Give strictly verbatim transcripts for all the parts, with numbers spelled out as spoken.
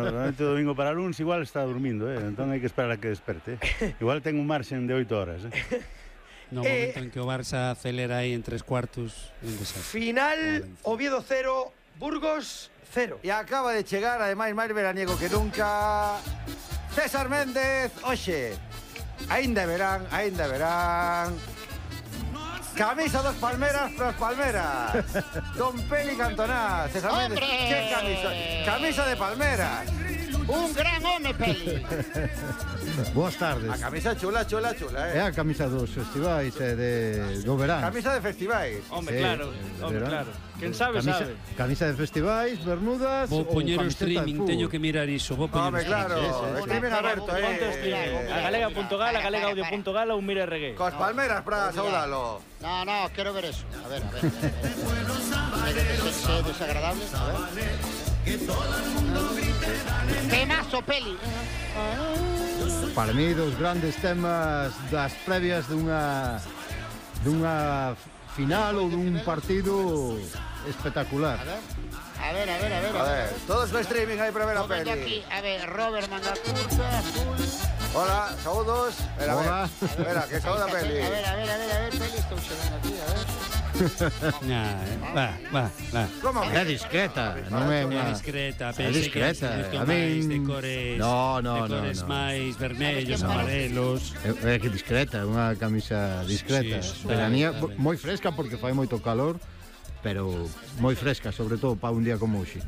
Bueno, normalmente o domingo para luns igual está dormindo, eh? Entón hai que esperar a que desperte. Igual ten un marxen de oito horas, eh? No momento en que o Barça acelera aí en tres cuartos, un desastre. Final, Oviedo cero, Burgos cero. E acaba de chegar, ademais, máis veraniego que nunca, César Méndez. Oxe, aínda verán, aínda verán. Camisa dos Palmeras pros Palmeras. Don Peli Cantona, César Méndez. Que camisa? Camisa de Palmeras. Un gran home, Peli. Boas tardes. A camisa chula, chula, chula, eh. É a camisa dos festivais e de, do verán. Camisa de festivais. Hombre, Sí, claro, hombre, verán. claro. Quen sabe, camisa, sabe. Camisa de festivais, bermudas. Vou poñer o camiseta de streaming, fútbol. teño que mirar iso. Vou poñer Home, o claro, streaming. streaming aberto, eh. Ponte o streaming. A galega punto gal, a galega audio punto gal ou mira reggae. Cos Palmeras para saudalo. No, no, quiero ver eso. A ver, a ver. A ver, a ver. Es, es desagradable. A ver. Temazo, Peli. Para mí, dos grandes temas das previas dunha dunha final ou dun partido espectacular. A ver, a ver, a ver. A ver, todos no streaming aí para ver a Todo peli. aquí. A ver, Robert manga curta, azul. Hola, saúdos. Espera, Hola. Espera, que saúda a peli. A ver, a ver, a ver, a ver, Peli, estou chegando aquí, a ver. Nah, eh. Va, va, va. Como É discreta, non é É unha... discreta, É pensei discreta, que a máis min- de cores, No, no, de no, cores no. máis vermellos, amarelos. É, é que discreta, é unha camisa discreta. Sí, sí, Veranía, vale, vale. moi fresca porque fai moito calor, pero moi fresca, sobre todo para un día como hoxe.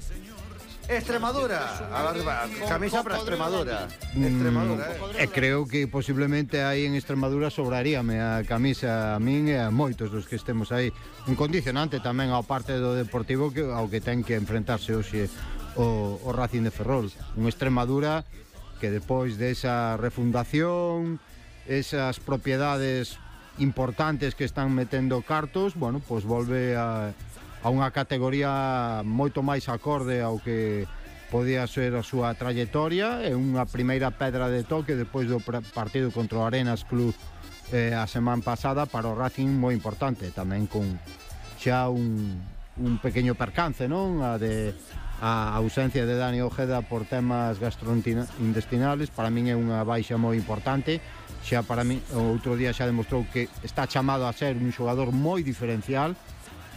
Extremadura. A ver, camisa para Extremadura. Mm, Extremadura, eh. E creo que posiblemente aí en Extremadura sobraríame a camisa a min e a moitos dos que estemos aí. Un condicionante tamén ao parte do Deportivo que ao que ten que enfrentarse hoxe o, o Racing de Ferrol. Un Extremadura que despois desa refundación, esas propiedades importantes que están metendo cartos, bueno, pois volve a a unha categoría moito máis acorde ao que podía ser a súa trayectoria. É unha primeira pedra de toque despois do partido contra o Arenas Club eh, a semana pasada para o Racing moi importante, tamén con xa un, un pequeño percance, non? A de a ausencia de Dani Ojeda por temas gastrointestinales, para min é unha baixa moi importante. Xa para min, o outro día xa demostrou que está chamado a ser un xogador moi diferencial.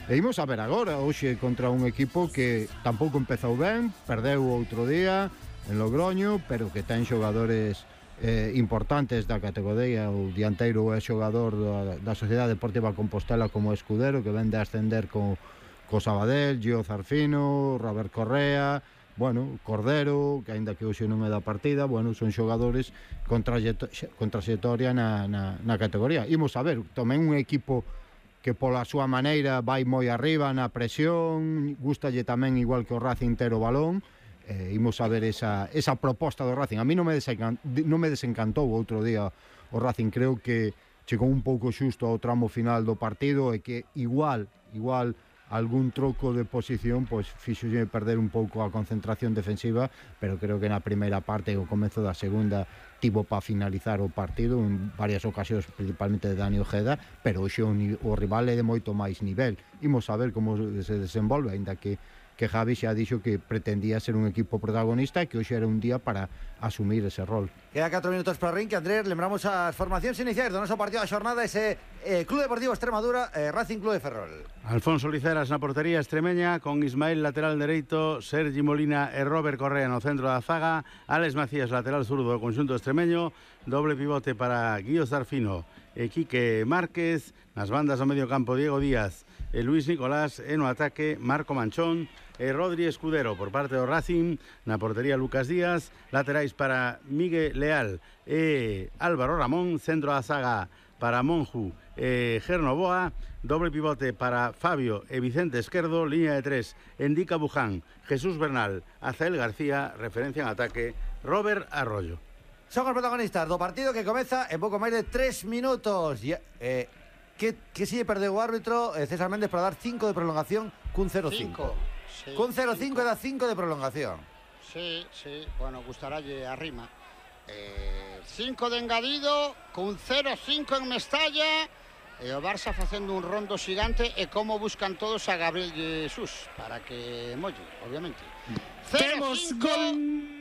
E imos a ver agora, hoxe contra un equipo que tampouco empezou ben, perdeu outro día en Logroño, pero que ten xogadores eh, importantes da categoría. O dianteiro é xogador da, da Sociedade Deportiva Compostela como Escudero, que vende a ascender co, co Sabadell, Gio Zarfino, Robert Correa, bueno, Cordero, que aínda que hoxe non é da partida, bueno, son xogadores con, con trayectoria na, na, na categoría. Imos a ver, tamén un equipo que pola súa maneira vai moi arriba na presión, gustalle tamén igual que o Racing ter o balón. Eh, imos a ver esa, esa proposta do Racing. A mí non me, desencantou, non me desencantou outro día o Racing, creo que chegou un pouco xusto ao tramo final do partido e que igual, igual algún troco de posición pois fixolle perder un pouco a concentración defensiva, pero creo que na primeira parte e o comezo da segunda tivo para finalizar o partido en varias ocasións, principalmente de Dani Ojeda, pero hoxe o, o rival é de moito máis nivel. Imos a ver como se desenvolve, aínda que que Javi xa dixo que pretendía ser un equipo protagonista e que hoxe era un día para asumir ese rol. Queda catro minutos para o ring, que Andrés, lembramos as formacións iniciais do noso partido da xornada, ese eh, Club Deportivo Extremadura, eh, Racing Club de Ferrol. Alfonso Liceras na portería extremeña, con Ismael lateral dereito, Sergi Molina e Robert Correa no centro da zaga, Alex Macías lateral zurdo do conxunto extremeño, doble pivote para Guío Zarfino e Quique Márquez, nas bandas do medio campo Diego Díaz e Luis Nicolás, e no ataque Marco Manchón e Rodri Escudero. Por parte do Racing, na portería Lucas Díaz, laterais para Miguel Leal e Álvaro Ramón, centro da zaga para Monju e Gernoboa, doble pivote para Fabio e Vicente Esquerdo, línea de tres, Endica Buján, Jesús Bernal, Azael García, referencia en ataque, Robert Arroyo. Son os protagonistas do partido que comeza en pouco máis de tres minutos. E, eh, que, que si lle perdeu o árbitro eh, César Méndez para dar cinco de prolongación cun cero cinco. Sí, cun cero cinco e da cinco de prolongación. Sí, sí, bueno, gustaralle a rima. Eh, cinco de engadido, cun cero cinco en Mestalla, e o Barça facendo un rondo xigante, e como buscan todos a Gabriel Jesús para que molle, obviamente. Temos gol!